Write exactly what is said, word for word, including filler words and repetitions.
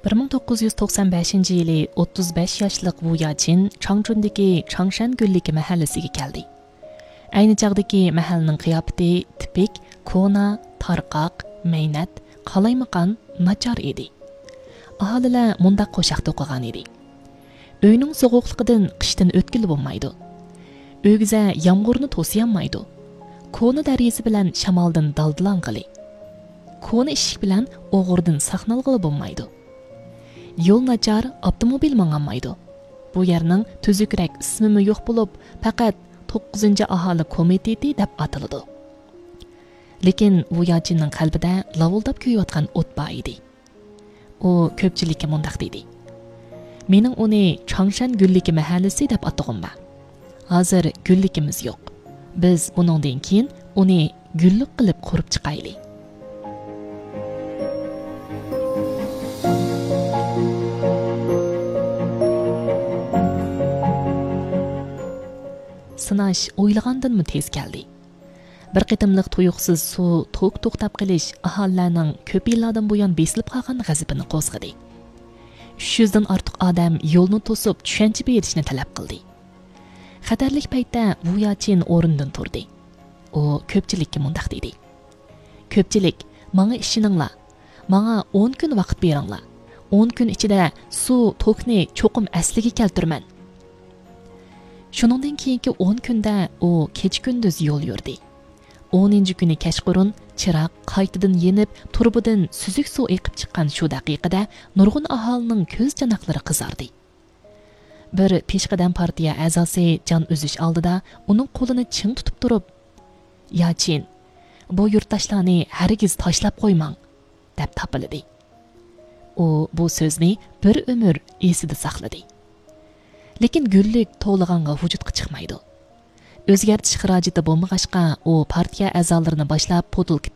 بىر مىڭ توققۇز يۈز توقسان بەشىنچى يىلى ئوتتۇز بەش ياشلىق ۋۇ ياچىن چاڭچۈندىكى چاڭشەن گۈللۈكى مەھەللىسىگە كەلدى. ئەينى چاغدىكى مەھەللىنىڭ قىياپىتى تىپىك كونا، تارقاق، مەينەت، قالايمىقان، ناچار ئىدى. ئاھالىلەر مۇنداق قوشاق توقۇغان ئىدى: ئۆينىڭ سوغۇقلۇقىدىن قىشتىن ئۆتكىلى بولمايدۇ. ئۆگزە يامغۇرنى توسۇيالمايدۇ. كونا دەرىزە بىلەن شامالدىن دالدىلانغىلى. كونا ئىشىك بىلەن ئوغرىدىن ساقلانغىلى بولمايدۇ. يول ناچار، ئاپتوموبىل ماڭالمايدۇ. بۇ يەرنىڭ تۈزۈكرەك ئىسمىمۇ يوق بولۇپ، پەقەت توققۇزىنچى ئاھالە كومىتېتى دەپ ئاتىلىدۇ. لېكىن ۋۇ ياچىننىڭ قەلبىدە لاۋۇلداپ كۆيۈۋاتقان ئوت بار ئىدى. ئۇ كۆپچىلىككە مۇنداق دېدى: مېنىڭ ئۇنى چاڭشەن گۈللۈكى مەھەللىسى دەپ ئاتىغۇم بار. ھازىر گۈللۈكىمىز يوق. بىز بۇنىڭدىن كېيىن ئۇنى گۈللۈك قىلىپ قۇرۇپ چىقايلى. سىناش ئويلىغاندىنمۇ تېز كەلدى. بىر قېتىملىق تۇيۇقسىز سۇ توك توختاپ قېلىش ئاھالىلەرنىڭ كۆپ يىللاردىن بۇيان بېسىلىپ قالغان غەزىپىنى قوزغىدى. ئۈچ يۈزدىن ئارتۇق ئادەم يولنى توسۇپ چۈشەنچە بېرىشنى تەلەپ قىلدى. خەتەرلىك پەيتتە ۋۇ ياچىن ئورنىدىن تۇردى. ئۇ كۆپچىلىككە مۇنداق دېدى: كۆپچىلىك، ماڭا ئىشىنىڭلار. ماڭا ئون كۈن ۋاقىت بېرىڭلار. ئون كۈن ئىچىدە سۇ توكنى چوقۇم ئەسلىگە كەلتۈرىمەن. شۇنىڭدىن كېيىنكى ئون كۈندە ئۇ كېچە-كۈندۈز يول يۈردى. ئونىنچى كۈنى كەچقۇرۇن چىراغ قايتىدىن يېنىپ، تۇرۇبىدىن سۈزۈك سۇ ئېقىپ چىققان شۇ دەقىقىدە نۇرغۇن ئاھالىنىڭ كۆز چاناقلىرى قىزاردى. بىر پېشقەدەم پارتىيە ئەزاسى جان ئۈزۈش ئالدىدا ئۇنىڭ قولىنى چىڭ تۇتۇپ تۇرۇپ، ياچىن، بۇ يۇرتداشلارنى ھەرگىز تاشلاپ قويماڭ، دەپ تاپىلىدى. ئۇ بۇ سۆزنى بىر ئۆمۈر ئېسىدە ساقلىدى. لېكىن گۈللۈك توۋلىغانغا ۋۇجۇدقا چىقمايدۇ. ئۆزگەرتىش خىراجىتى بولمىغاچقا، ئۇ پارتىيە ئەزالىرىنى باشلاپ پوتۇلكا